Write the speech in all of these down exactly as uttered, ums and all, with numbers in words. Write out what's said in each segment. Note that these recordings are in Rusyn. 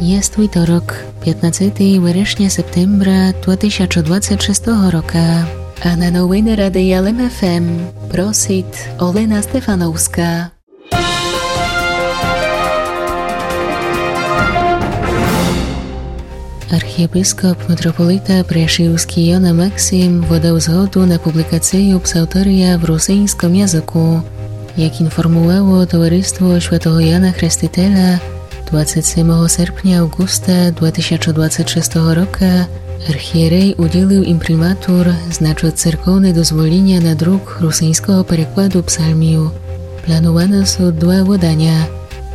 Єст вівторок, пятнадцетого верешня-септембра два тисячы двадцет шестого рока. А на новины Радия Лем ФМ просит Олена Стефановска. Архієпископ митрополита Пряшівскій Йона Максим выдал згоду на публікацию псалтерия в русиньском языку. Як інформувало Товариство Святого Яна Хрестителя, двадцет семого серпня Авґуста два тисячы двадцет шестого рока архієрей уділил імприматур, значыт церковне дозволіня на друк русиньского перекладу псалмів. Плануваны сут два выданя.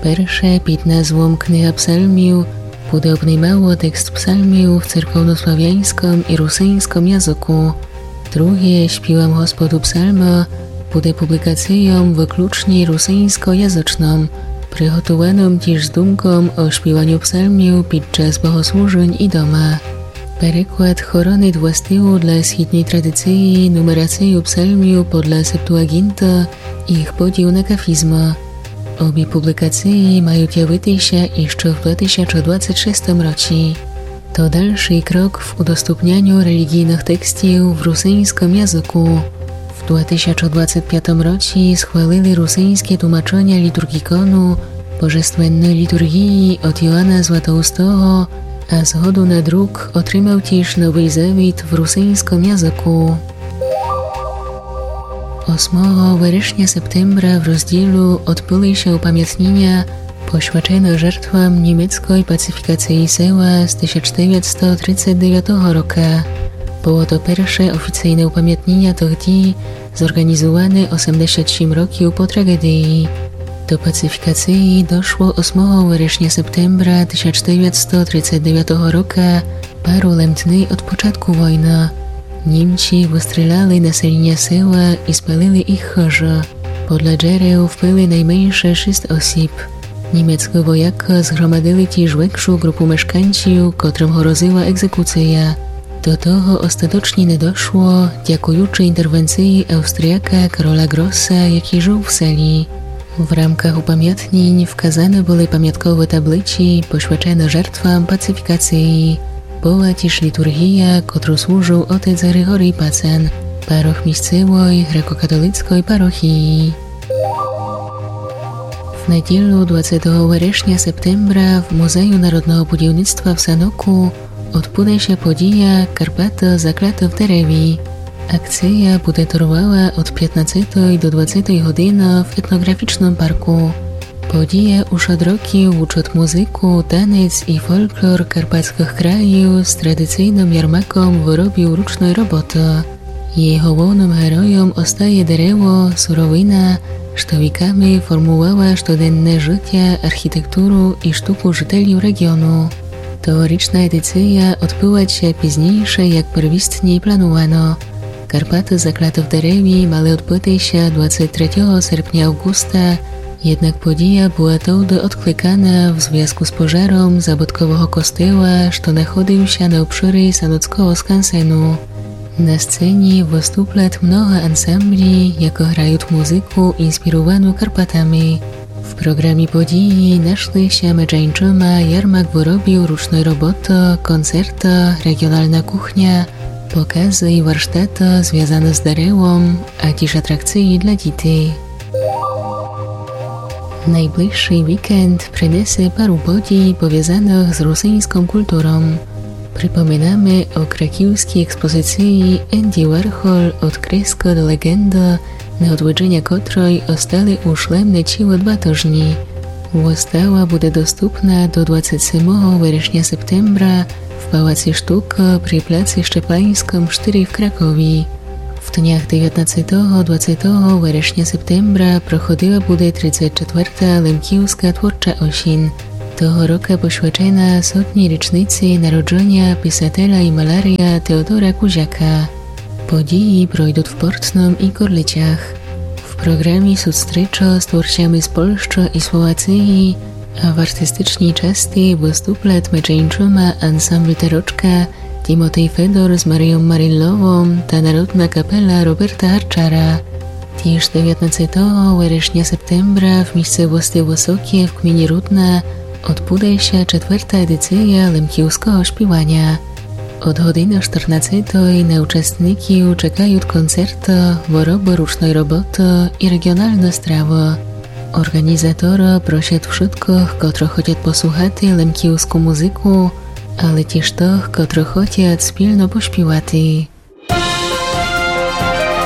Перше під назвом Книга псалмів буде обнимало текст псалмів в церковнославяньском і русиньском языку. Друге, Співам Господу псалмы буде публікацийом выключні русиньскоязычном, приготуваном тіж з думком о співаню псалмів під час богослужень і дома. Переклад хоронит властиву для східньой традиції нумерацию псалмів подля Септуаґінты і їх поділ на кафізмы. Обі публікації мають явити ся іщы в два тисячы двадцет шестом році. То дальшый крок в удоступняню реліґійных текстів в русиньском языку. В два тисячы двадцет пятом році схвалили русиньске тумаченя літурґікону Божественной літурґії од Йоана Златоустого, а згоду на друк отримал тіж Новый Завіт в русиньском языку. Осмого верешня-септембра в розділу «Одбыли ся упамятніня» посвячене жертвам німецкой пацифікациі села з тисяч девятсто тридцет девятого рока. Было то перше офіцийне упамятніня тых дій, зорґанізуване осемдесят сім років по траґедії. До пацифікациі дошло осмого верешня-септембра тисяч девятсто тридцет девятого рока, пару лем дни од початку войны. Німці выстріляли населіня села і спалили їх хыжы. Подля джерел вбили найменше шіст осіб. Німецкы воякы зґромадили тіж векшу ґрупу мешканців, котрым грозила еґзекуция. До того остаточні не дошло, дякуючы інтервенциі Австріяка Кароля Ґроса, якій жыл в селі. В рамках упамятнінь вказаны были памятковы таблици, посвячены жертвам пацифікациі. Была тіж літурґія, котру служыл отец Григорій Пацан, парох місцевой греко-католицкой парохії. В неділю, двадцятого верешня-септембра, в Музею народного будівництва в Саноку одбуде ся подія «Карпаты заклаты в дереві». Акция буде тырвала од пятнадцятой до двадцятой годины в етноґрафічным парку. Подія уж од років учыт музыку, танец і фолклор карпатскых країв з традицийным ярмаком выробів ручной роботы. Її головным геройом остає дерево, суровина, што віками формувала штоденне жытя, архітектуру і штуку жителів реґіону. Тогорічна едиция одбыла ся пізнійше, як первістні планувано. «Карпаты заклаты в дереві» мали одбыти ся двадцять третього серпня Авґуста, єднак подія была товды одкликана в звязку з пожаром забыткового костела, што находив ся на обшыри Саноцкого скансену. На сцені выступлят много ансамблі, якы грають музыку, інспірувану Карпатами. В програмі події нашли ся, меджи іншыма, ярмак выробів ручной роботы, концерты, реґіонална кухня, показы і варштаты, звязаны з деревом, а тіж атракциі для дітей. Найближшый вікенд принесе пару подій, повязаных з русиньском культуром. Припоминаме о краківскій експозициі «Енді Вархол: од креска до леґенды», на одвіджыня котрой остали уж лем нечіло два тыжні. Выстава буде доступна до двадцять семого верешня-септембра в Палаци штукы при пляци Щепаньскым штыри в Кракові. В днях девятнадцятого, двадцятого верешня-септембра проходила буде тридцять четверта Лемківска творча осін. Того рока посвячена сотній річниці народжыня писателя і маляря Теодора Кузяка. Події пройдуть в Портным і Корлицях. В програмі суть стрічы з творцями з Польщы і Словациі, а в артистичній части выступлят меджи іншыма ансамбль «Терочка», Тімотей Федор з Маріом Марілловом та народна капела Роберта Гарчара. Тіж девятнадцятого верешня-септембра в місцевости Высоке в кміні Рудна Одбуде ся четверта едиція лемківского шпіваня. Од годины штырнадцятої на участників чекают концерты, выробы ручной роботы і реґіоналны стравы. Орґанізаторы просят вшыткых, котры хотят послухати лемківску музыку, але тіж тых, котры хотят спільно пошпівати.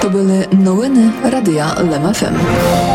То были новины Радия Лем ФМ.